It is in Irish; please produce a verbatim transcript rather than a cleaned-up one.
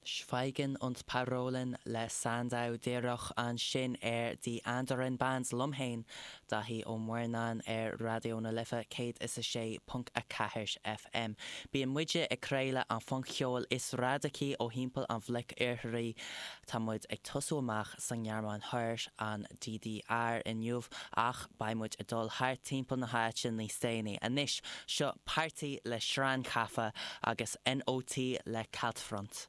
Schweigen und Parolen le Sandow díreach ansin ar Die Anderen Bands liom féin Daithí Ó Muirneáin ar Raidió na Life céad is a sé ponc a ceathair FM. Bíonn muide ag craoladh an phunc-cheoil is radacaí ó thimpeall an bhloic iartharaigh Tá muid ag tosú amach sa nGearmáin Thoir an DDR inniu ach beidh muid ag dul thart timpeall na háite níos déanaí. Anois seo Party le Schrankhaffe agus NOT le Kaltfront.